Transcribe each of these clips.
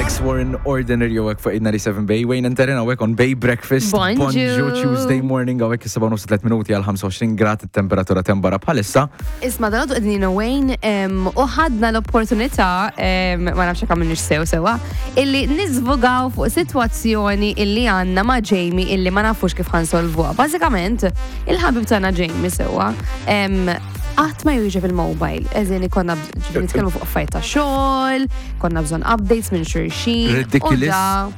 Alex Warren Ordinary hawnhekk fuq 897 Bay, Wayne and Terren hawnhekk on Bay Breakfast. Bonġu. Tuesday morning hawnhekk is-7 nofs 3 minuti għal 25 grad it-temperatura tembara bħalissa. Isma dal qegħdin Wayne u ħadna l-opportunità ma nafx jekk għamilniex sew sewa illi niżvugaw fuq sitwazzjoni illi għandna ma' Jamie illi ma nafux kif ħansolvuha. Bażikament, il-ħabib tagħna Jamie sewwa qatt ma jwieġeb il-mobile. Eżin ikonna ġifieri nitkellmu fuq affarijiet ta' xogħol, konna bżonn updates minn xulxin. u Ridiculous. da-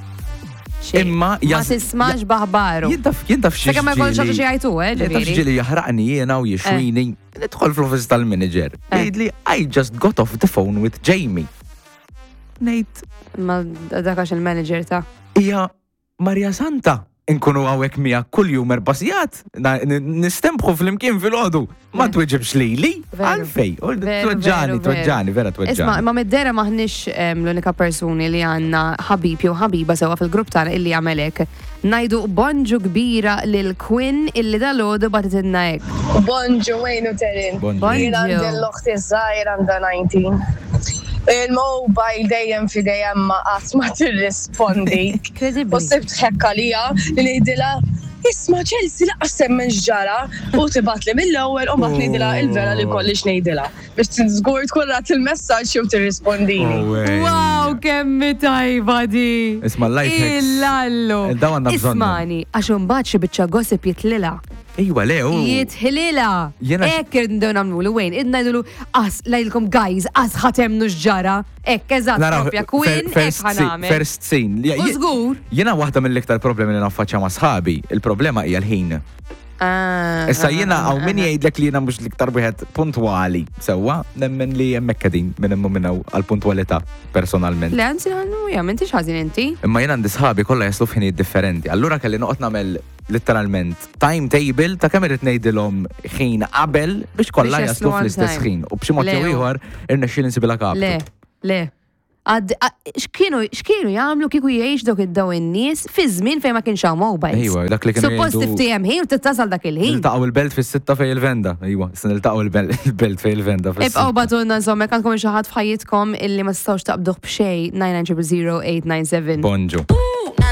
xejn. Imma ma jas- tismax baħbaru. Jintaf jintaf xi Sakemm ma jkollx ħaġa xi jgħidu, eh, Jintaf ġifieri. ġieli jaħraqni jiena u jixwini. Nidħol fl-office tal-manager. Eh. Jgħidli I just got off the phone with Jamie. Ngħid Ma dak għax il-manager ta' hija Maria Santa. Inkunu hawnhekk miegħek kuljum erba' sigħat, na- n- nistembħu flimkien filgħodu. Ma Eh. tweġibx lili, Veru. għalfej. U Veru, veru, Tweġġani, veru. tweġġani, vera Isma, tweġġani. ma mid-dera maħniex em, l-unika persuni li għanna ħabib jew ħabiba sewa fil-grupp tagħna illi jagħmel hekk. Ngħidu bonġu kbira lil Quinn illi dalgħodu bagħtitilna hekk. Bonġu Wayne u Terin. Bonġu. Bonġu. Jien għandi l-oħti żgħir għandha 19. Il-mobile dejjem f'idejja ma qatt ma tirrispondi. Incredibbli. U sibt ħekka lija li ngħidilha Isma' Chelsea laqqas temmen x'ġara u tibgħatli mill-ewwel u mbagħad ngħidilha il-vera li kollix ngħidilha biex żgur tkun rat il-messaġġ jew tirrispondini. Oh, wey. Wow, kemm tajba di! Isma' life hacks. Illallu. Eh, dawn għandna bżonnhom. Ismani, għax imbagħad xi biċċa gossip jitlilha. Ejwa, le, u. Jitħililha. Jiena- Hekk irridu nagħmlu Wayne, id ngħidulu as ngħidilkom guys, as ħatemnu x'ġara. Hekk eżatt Naraw, propja Quinn, hekk first scene- ħanagħmel. First scene. U żgur. Jiena waħda mill-iktar problemi li naffaċċja ma' sħabi, il-problema hija l-ħin. Ah, Issa ah, jiena ah, hawn min ah. jgħidlek li jiena mhux l-iktar wieħed puntwali sewwa, nemmen li hemmhekk qegħdin minn hemm u minn hawn għall-puntwalità personalment. Le, anzi, għannu, ja, m'intix ħażin inti. Imma jiena għandi sħabi kollha jaslu f'ħinijiet differenti. Allura kelli noqgħod nagħmel literalment timetable ta' kemm irid ngħidilhom ħin qabel biex kollha Biex jaslu jaslu on fl-istess time. ħin. U b'xi mod Le, jew u- ieħor irnexxieli nsibilha kaptu. Le, le. Għad, a- x'kienu x'kienu jagħmlu kieku jgħix dawk id-daw in-nies fi żmien fejn ma kienx hawn mobiles. Ejwa, dak li kienu Suppost jgħidu- tiftijem ħin u tittasal dak il-ħin. Niltaqgħu il-belt fis-sitta fej il-venda. Ejwa, se niltaqgħu il-belt il-belt fej il-venda Ibqgħu fis-sitta. batunna insomma, jekk għandkom xi ħadd f'ħajjitkom illi ma tistgħux taqbduh b'xejn 990 897. Bonġu.